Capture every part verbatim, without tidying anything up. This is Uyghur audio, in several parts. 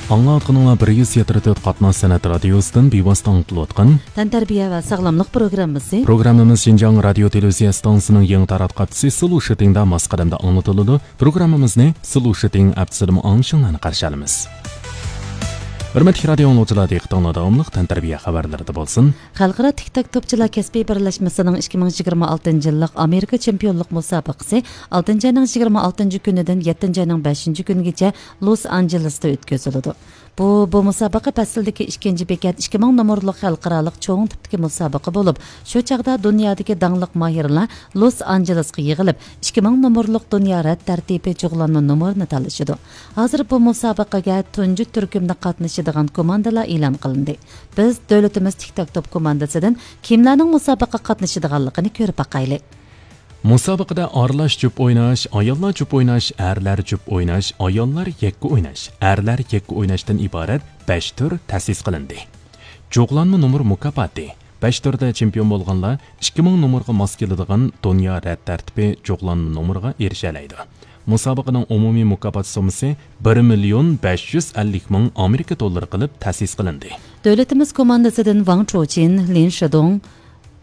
ئاڭلاۋاتقىنىڭلار بىر يۈز يەتتە تۆت قاتناش سەنئەت رادىيوسىدىن بىۋاسىتە ئاڭلىتىلىۋاتقان تەنتەربىيە ۋە ساغلاملىق پروگراممىسى. پروگراممىمىز شىنجاڭ رادىيو تېلېۋىزىيە ئىستانسىسىنىڭ يېڭى تاراتقۇ ھەپتىسى سلو شىتىڭدا ماس قەدەمدە ئاڭلىتىلىدۇ. پروگراممىمىزنى سلو شىتىڭ ھەپتىسىدىمۇ ئاڭلىشىڭلارنى قارشى ئالىمىز. ھۆرمەتلىك رادىيو ئاڭلىغۇچىلار، دىققىتىڭلار داۋاملىق تەنتەربىيە خەۋەرلىرىدە بولسۇن. خەلقئارا تىك تاك توپچىلار كەسپىي بىرلەشمىسىنىڭ ئىككى مىڭ يىگىرمە ئالتىنچى يىللىق ئامېرىكا چېمپىيونلۇق مۇسابىقىسى ئالتىنچى ئاينىڭ يىگىرمە ئالتىنچى كۈنىدىن يەتتىنچى ئاينىڭ بەشىنچى كۈنىگىچە لوس ئانژېلېستا ئۆتكۈزۈلىدۇ. بۇ، بۇ مۇسابىقە پەسلىدىكى ئىككىنچى بېكەت ئىككى مىڭ نومۇرلۇق خەلقئارالىق چوڭ تىپتىكى مۇسابىقە بولۇپ، شۇ چاغدا دۇنيادىكى داڭلىق ماھىرلار لوس ئانژېلېسقا يىغىلىپ، ئىككى مىڭ نومۇرلۇق دۇنيا رەت تەرتىپى جۇغلانما نومۇرىنى تالىشىدۇ. ھازىر بۇ مۇسابىقىگە تۇنجى تۈركۈمدە قاتنىشىدىغان كوماندىلار ئېلان قىلىندى. بىز دۆلىتىمىز تىك تاك توپ كوماندىسىدىن كىملەرنىڭ مۇسابىقىگە قاتنىشىدىغانلىقىنى كۆرۈپ باقايلى. مۇسابىقىدە ئارىلاش جۈپ ئويناش، ئاياللار جۈپ ئويناش، ئەرلەر جۈپ ئويناش، ئاياللار يەككە ئويناش، ئەرلەر يەككە ئويناشتىن ئىبارەت بەش تۈر تەسىس قىلىندى. جۇغلانما نومۇر مۇكاپاتى. بەش تۈردە چېمپىيون بولغانلار ئىككى مىڭ نومۇرغا ماس كېلىدىغان دۇنيا رەت تەرتىپى جۇغلانما نومۇرىغا ئېرىشەلەيدۇ. مۇسابىقىنىڭ ئومۇمىي مۇكاپات سوممىسى بىر مىليون بەش يۈز ئەللىك مىڭ ئامېرىكا دوللىرى قىلىپ تەسىس قىلىندى. دۆلىتىمىز كوماندىسىدىن ۋاڭ چۇچىن، لىن شىدۇڭ،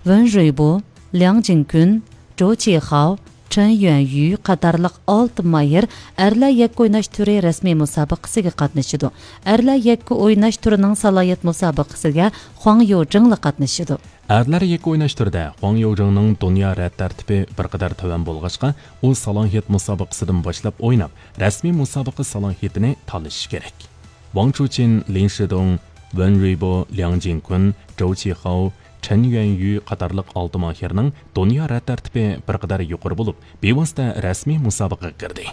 ۋېن رۇيبو، لياڭ جىنكۈن، جوۋ چىخاۋ، چېن يۈەنيۈ قاتارلىق ئالتە ماھىر ئەرلەر يەككە ئويناش تۈرى رەسمىي مۇسابىقىسىگە قاتنىشىدۇ. ئەرلەر يەككە ئويناش تۈرىنىڭ سالاھىيەت مۇسابىقىسىگە خۇاڭ يوجىڭلا قاتنىشىدۇ. ئەرلەر يەككە ئويناش تۈرىدە خۇاڭ يوجىڭنىڭ دۇنيا رەت تەرتىپى بىر قەدەر تۆۋەن بولغاچقا، ئۇ سالاھىيەت مۇسابىقىسىدىن باشلاپ ئويناپ، رەسمىي مۇسابىقە سالاھىيىتىنى تالىشىشى كېرەك. ۋاڭ چۇچىن، لىن شىدۇڭ، ۋېن رۇيبو، لياڭ جىنكۈن، جوۋ چىخاۋ، چېن يۈەنيۈ قاتارلىق ئالتە ماھىرنىڭ دۇنيا رەت تەرتىپى بىر قەدەر يۇقىرى بولۇپ، بىۋاسىتە رەسمىي مۇسابىقىگە كىردى.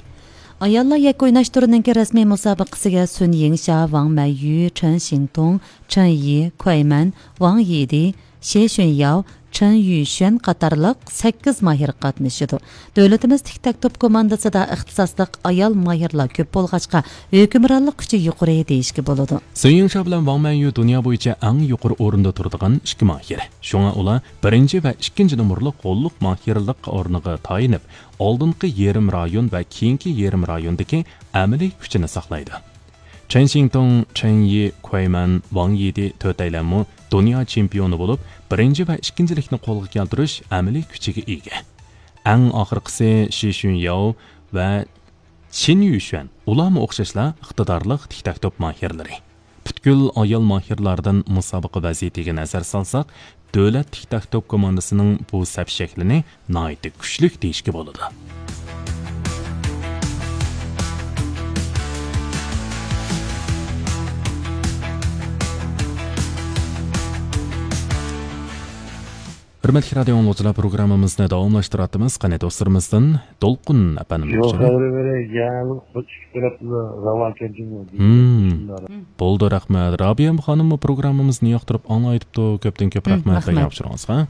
ئاياللار يەككە ئويناش تۈرىنىڭكى رەسمىي مۇسابىقىسىگە سۈن يىڭشيا، ۋاڭ مەييۈ، چېن شىڭتۇڭ، چېن يى، كۇەيمەن، ۋاڭ يىدى، شې شۈنياۋ، چېن يۈشۈەن قاتارلىق سەككىز ماھىر قاتنىشىدۇ. دۆلىتىمىز تىك تاك توپ كوماندىسىدا ئىختىساسلىق ئايال ماھىرلار كۆپ بولغاچقا، ھۆكۈمرانلىق كۈچى يۇقىرى دېيىشكە بولىدۇ. سۈن يىڭشيا بىلەن ۋاڭ مەنيۈ دۇنيا بويىچە ئەڭ يۇقىرى ئورۇندا تۇرىدىغان ئىككى ماھىر. شۇڭا ئۇلار بىرىنچى ۋە ئىككىنچى نومۇرلۇق غوللۇق ماھىرلىق ئورنىغا تايىنىپ، ئالدىنقى يېرىم رايون ۋە كېيىنكى يېرىم رايوندىكى ئەمەلىي كۈچىنى ساقلايدۇ. چېن شىڭتۇڭ، چېن يى، كۇەيمەن، ۋاڭ يىدى تۆتەيلەنمۇ دۇنيا چېمپىيونى بولۇپ، بىرىنچى ۋە ئىككىنچىلىكنى قولغا كەلتۈرۈش ئەمەلىي كۈچىگە ئىگە. ئەڭ ئاخىرقىسى شى شۈنياۋ ۋە چىن يۈشۈەن، ئۇلارمۇ ئوخشاشلا ئىقتىدارلىق تىك تاك توپ ماھىرلىرى. پۈتكۈل ئايال ماھىرلاردىن مۇسابىقە ۋەزىيىتىگە نەزەر سالساق، دۆلەت تىك تاك توپ كوماندىسىنىڭ بۇ سەپ شەكلىنى ناھايىتى كۈچلۈك دېيىشكە بولىدۇ. ھۆرمەتلىك رادىيو ئاڭلىغۇچىلار، پروگراممىمىزنى داۋاملاشتۇرۇۋاتىمىز. قېنى دوستلىرىمىزدىن دولقۇن ئەپەندىمنى يول تەكشۈرۈڭ. خەۋىرى بېرەي، يەنى ئىككى تەرەپنى راۋان كەلگەن. بولدى، رەھمەت. رابىيە خانىممۇ پروگراممىمىزنى ياقتۇرۇپ ئاڭلايدىپتۇ. كۆپتىن كۆپ رەھمەت رەھمەت. دەيمەن ئۇچۇرىڭىزغا.